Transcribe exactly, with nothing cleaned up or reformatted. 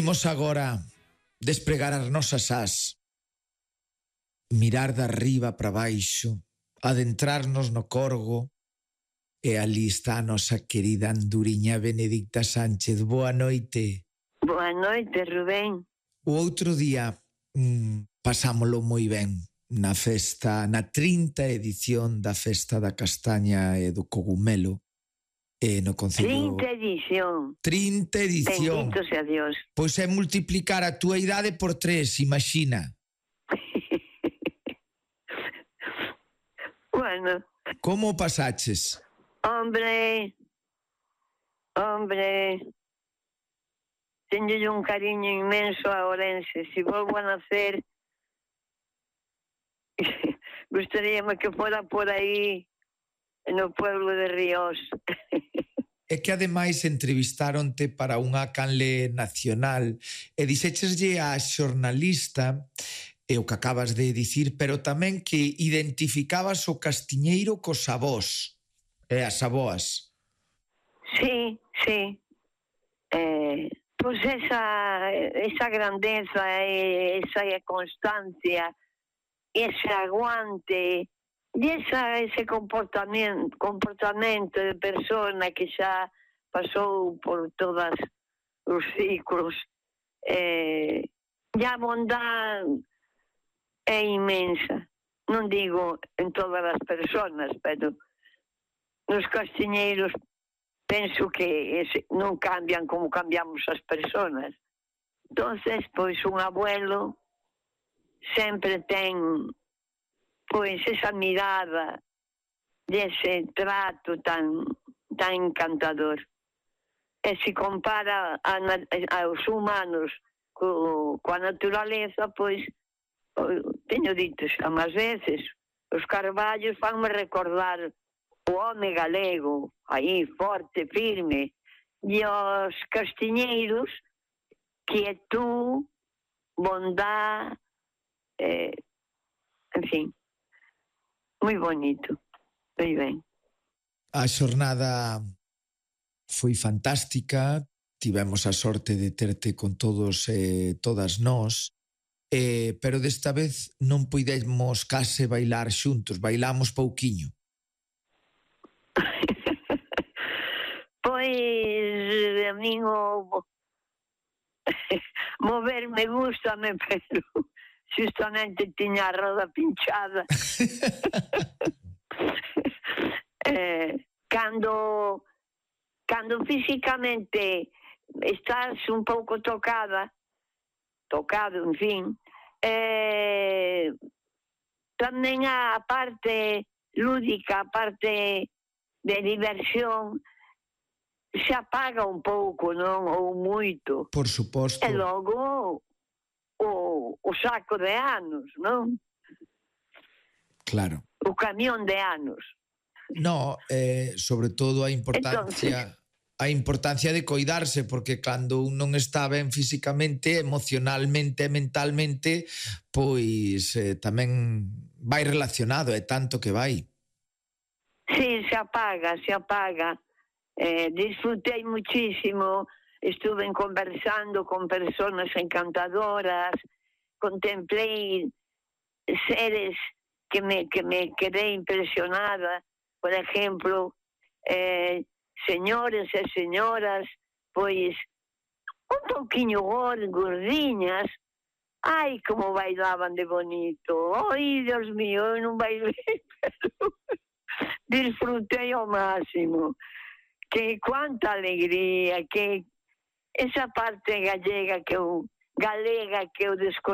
Imos agora despregar as nosas ás, mirar de arriba para baixo, adentrarnos no Corgo, e ali está a nosa querida anduriña Benedicta Sánchez. Boa noite. Boa noite, Rubén. O outro día mmm, pasámolo moi ben na festa, na trinta edición da Festa da Castaña e do Cogumelo, e no Concello... trinta edición. trinta edición. Bendito sea Dios. Pois é multiplicar a túa idade por tres, imagina. Bueno. Como o pasaches? Hombre, hombre, teño un cariño inmenso a Ourense. Si volvo a nacer, gustaríame que fora por aí, no pueblo de Ríos. É que ademais entrevistaronte para unha canle nacional e dixécheslle a xornalista e o que acabas de dicir, pero tamén que identificabas o castiñeiro cos avós e as avoas. Sí, sí. Eh, pois esa, esa grandeza, esa constancia, ese aguante, e esa, ese comportamento, comportamento de persona que xa pasou por todos os ciclos. Eh, e a bondade é inmensa. Non digo en todas as personas, pero nos castiñeiros penso que ese, non cambian como cambiamos as personas. Entonces, pois un abuelo sempre ten pois esa mirada dese trato tan tan encantador. E se compara a, a, aos humanos co, coa naturaleza, pois teño dito xa máis veces, os carballos fanme recordar o home galego, aí forte, firme, e os castiñeiros, quietud, bondad, eh, en fin, moi bonito, moi ben. A xornada foi fantástica, tivemos a sorte de terte con todos e eh, todas nós, eh, pero desta vez non puidemos case bailar xuntos, bailamos pouquiño. Pois a min o moverme gustame, pero justamente tiña a roda pinchada. eh, cando cando físicamente estás un pouco tocada, tocado, en fin, eh, tamén a parte lúdica, a parte de diversión, se apaga un pouco, non? Ou moito. Por suposto. E logo o, o saco de anos, non? Claro. O camión de anos. No, eh, sobre todo a importancia... Entonces, a importancia de coidarse, porque cando un non está ben físicamente, emocionalmente e mentalmente, pois eh, tamén vai relacionado, é tanto que vai. Sí, se apaga, se apaga. Eh, disfrutei muchísimo, estuve conversando con personas encantadoras, contemplei seres que me, que me quedé impresionada, por ejemplo, eh, señores e señoras, pois, un pouquiño gordiñas, ai, como bailaban de bonito, ai, Dios mío, eu non bailei, pero disfrutei ao máximo. Que cuánta alegría, que esa parte gallega que eu, galega que eu desconozco,